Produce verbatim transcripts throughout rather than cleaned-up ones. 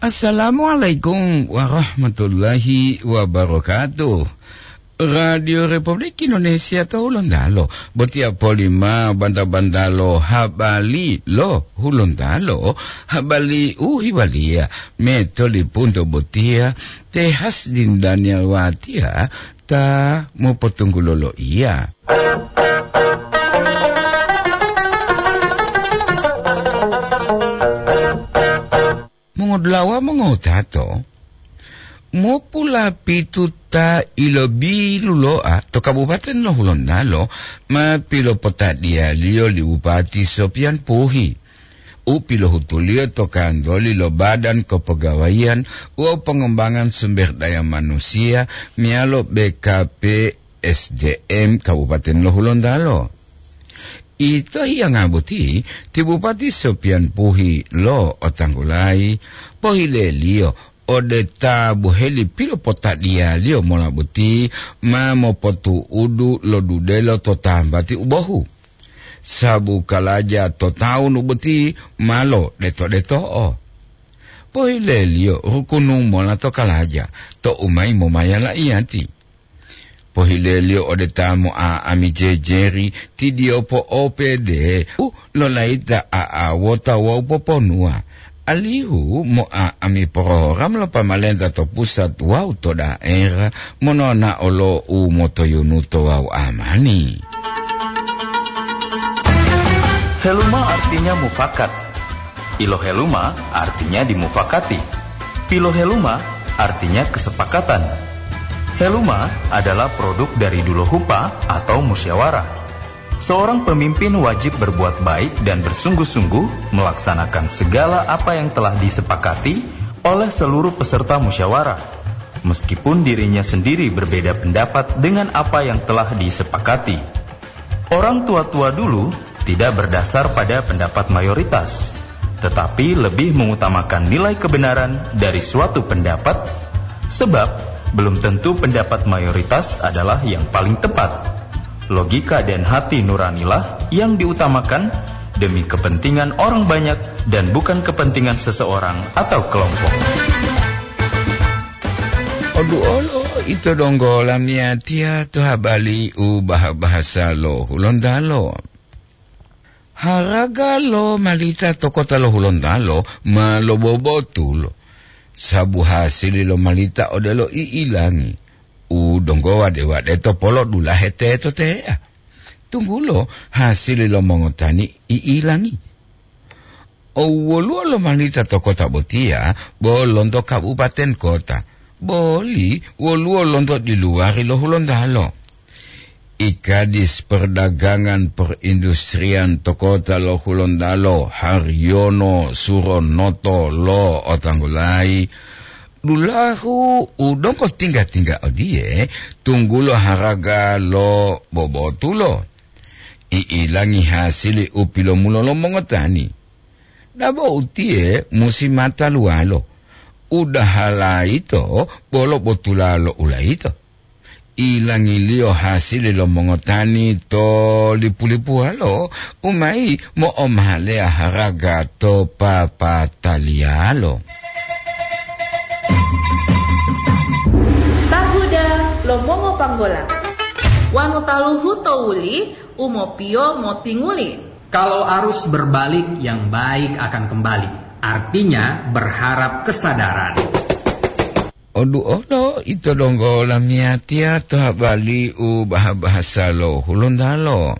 Assalamualaikum warahmatullahi wabarakatuh. Radio Republik Indonesia to Hulontalo, botiya polima banta-bantalo habari lo Hulontalo, habari u hiwaliya metolipunto botiya te Hasdin Daniel Watiya ta mopotunggulo loiya. Mongodulawa mongotato, mopulapitu ta ilobiluloa to Kabupaten lo Hulontalo ma pilopotadiyaliyo li Bupati Sopian Puhi, u pilohutuliyo to kantoli lo Badan Kepegawaian wawu Pengembangan Sumber Daya Manusia meyalo B K P S D M Kabupaten lo Hulontalo. Ito hiyanga boti, ti Bupati Sopian Puhi lo Otanggulayi pohileliyo ode ta boheli pilopotadiyaliyo mola boti ma mopotu'udu lo dudelo to tambati u bohu. Sabu kalaja to tawu nu boti ma lodeto-deto'o. Pohileliyo rukunu mola to kalaja to u mayi momaya la'iyati. Pohileliyo ode ta mo'a'ami jejeri, ti diyo po'opede u lolayita a'awota wawu poponuwa, alihu mo'a'ami porogram lo pamalenta to pusat wawu to daerah mononao lo u motoyunuto wawu amani. Heluma artinya mufakat. Iloheluma artinya dimufakati. Piloheluma artinya kesepakatan. Heluma adalah produk dari dulohupa atau musyawarah. Seorang pemimpin wajib berbuat baik dan bersungguh-sungguh melaksanakan segala apa yang telah disepakati oleh seluruh peserta musyawarah, meskipun dirinya sendiri berbeda pendapat dengan apa yang telah disepakati. Orang tua-tua dulu tidak berdasar pada pendapat mayoritas, tetapi lebih mengutamakan nilai kebenaran dari suatu pendapat, sebab belum tentu pendapat mayoritas adalah yang paling tepat. Logika dan hati nuranilah yang diutamakan demi kepentingan orang banyak dan bukan kepentingan seseorang atau kelompok. Oduolo ito donggo lamiyatiya to habari u baha-bahasa lo Hulontalo. Haraga lo malita to kota lo Hulontalo ma lobobotulo, sabu hasili lo malita odelo i'ilangi, u donggo wade-wade to polo dulahe teto teya. Tunggulo hasili lo mongotani i'ilangi. O woluwo lomalita to kota botiya bo lonto kabupaten kota, boli woluwo lonto diluwari lo Hulontalo. I Kadis Perdagangan Perindustrian to kota lo Hulontalo, Haryono Suronoto lo otanggulayi, dulahu u donggo tingga-tingga odiye, tunggulo haraga lo bobotulo. I'ilangi hasili u pilomulo lo mongotani. Dabo utiye musi mata luwalo, udaha layito bolo botulalo ulayito. Ilangiliyo hasili lo mongotani to lipu-lipuwalo, u mayi mo'omaleya haraga to papataliyalo. Tahuda lo mongopanggola. Wanu taluhu to wuli, u mopiyo motinguli. Kalau arus berbalik, yang baik akan kembali. Artinya, berharap kesadaran. Oduolo ito donggo lamiyatiya to habari u baha-bahasa lo Hulontalo.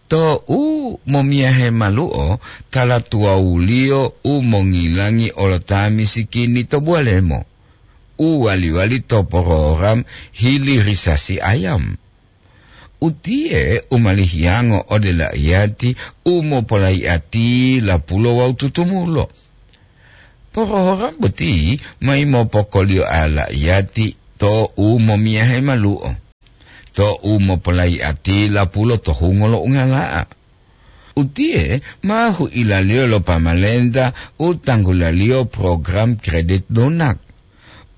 To u momiyahe malu'o, tala tuwawuliyo u mongilangi olo ta misikini to buwalemo, u wali-wali to porogram hilirisasi ayam. Utiye u malihiyango ode la'iyati u mopolayi'ati lapulo wawu tutumulo. Porogram boti mayi mopokoliyoa la'iyati to u momiyahe malu'o, to u mopolayi'ati lapulo to hungo lo ungala'a. Utiye ma huilaliyo lo pamalenta u tanggulaliyo program kredit lunak,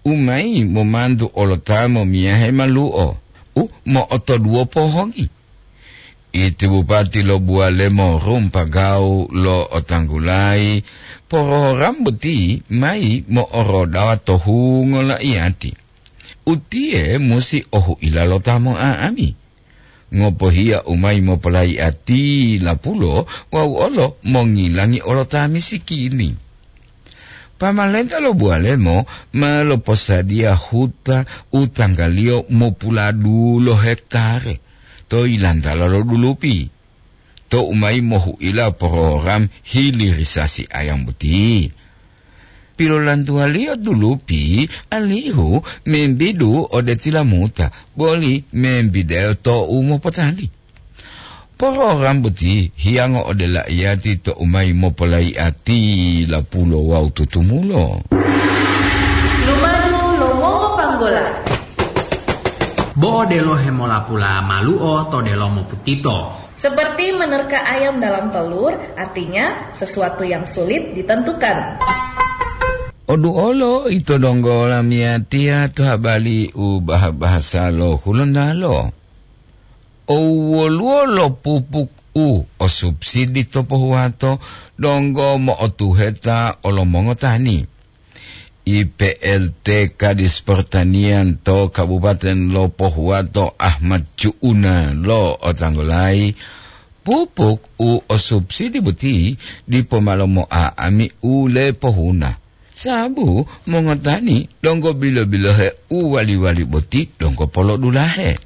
u mayi momantu olo ta momiyahe malu'o u mo'otoduwo pohongi. Iti bupati lo Buwalemo Rumpagau lo otanggulayi, Program boti mayi mo'orodawa to hungo lo iyati. Utiye musi ohu'ila lo ta mo'a'ami. Ngopohiya u mayi mopolayi'ati lapulo wawu olo mongilangi olo ta misikini. Pamalenta lo Buwalemo ma loposadiya huta u tanggaliyo mopuladulo hektare to yilantala lo Dulupi. Tou mayi mohu'ila program hilirisasi ayam boti, pilolantuwaliyo Dulupi alihu membidu ode tilamuta, boli membideyo tou mopotali. Program boti hiyango ode la'iyati tou mayi mopolayi'ati lapulo wawu tutumulo. Lumadu lo mongopanggola. Bo odelo hemolapula malu'o to delomo putito. Seperti menerka ayam dalam telur, artinya sesuatu yang sulit ditentukan. Oduolo ito donggo lamiyatiya to habali u bah-bahasa lo Hulontalo. Owoluwo lo pupuk u o subsidi to pohuwato donggo mo'otuheta olomongotani. I P L T Kadis Pertanian to Kabupaten lo Pohuwato Ahmad Cu'una lo otanggolayi, pupuk u o subsidi boti dipo ma lomo'a'ami u lepohuna. Sababu mongotani donggo bilo-bilohe u wali-wali boti donggo polodulahe.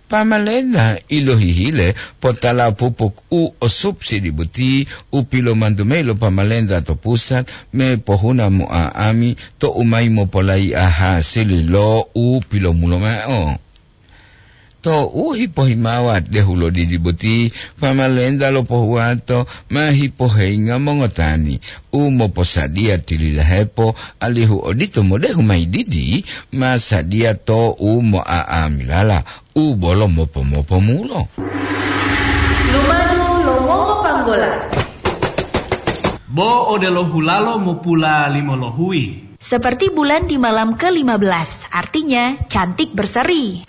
Pamalenta ilohihile potala pupuk u o subsidi boti u pilomantu mayi lo pamalenta to pusat me pohuna mo'a'ami tou mayi mopolayi'a hasili lo u pilomulo mao. Tou hipohimawa dehu lo didi boti, pamalenta lo pohuwato ma hipoheyinga mongotani u moposadiya tililahepo, alihu odito modehu mayi didi ma sadiya tou mo'a'amilala u bolo mopo-mopomulo. Lumadu lo mongopanggola. Bo odelo hulalo mopula limolohuyi. Seperti bulan di malam ke lima belas, artinya cantik berseri.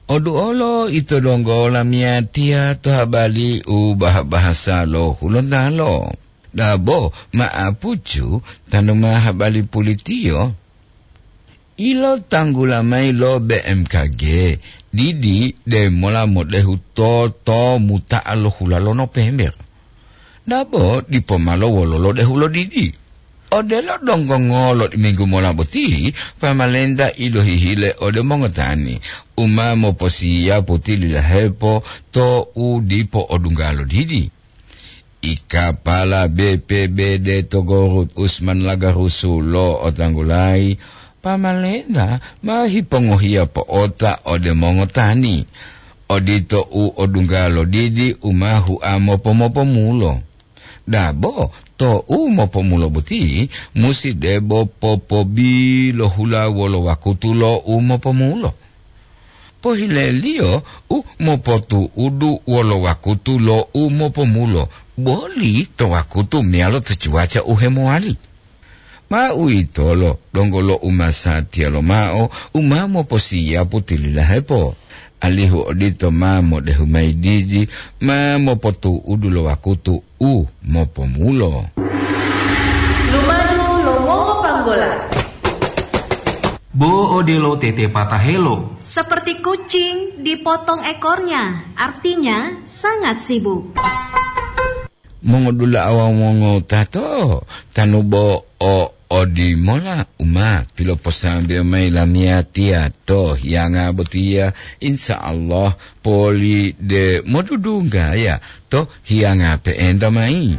Oduolo ito donggo lamiyatiya to habali u bah-bahasa lo Hulontalo. Dabo ma'apucu tanu ma habali pulitiyo. Ilotanggula mayi lo B M K G, didi demola modehu to, to muta'a lo hula lo Nopember. Dabo dipo malo wololo dehu lo didi. Odelo donggo ngolo minggu mola boti, pamalenta ilohihile ode mongotani u ma moposiyapu tililahepo to u dipo odungga lo didi. I kapala B P B D to Gorut Usman Lagarusu lo otanggulayi, pamalenta ma hipongohiya po'ota ode mongotani, odito u odungga lo didi u ma hua mopo-mopomulo. Dabo to u mopomulo boti musi debo popobilohula wolo wakutu lo u mopomulo. Pohileliyo u mopotu'udu wolo wakutu lo u mopomulo, boli to wakutu meyalo to cuaca u hemowali. Ma uwitolo donggo lo umasatiya lomao u ma moposiyapu tililahepo, alihu odito ma modehu mayi didi ma mopotu'udu lo wakutu u mopomulo. Lumadu lo mongopanggola. Bo odelo tete patahelo. Seperti kucing dipotong ekornya, artinya sangat sibuk. Mongodula'a wawu mongowutato, tanu bo o odimola u ma piloposambeyo mayi lamiyatiya to hiyanga botiya, insya Allah poli de modudunggaya to hiyanga pe'enta mayi.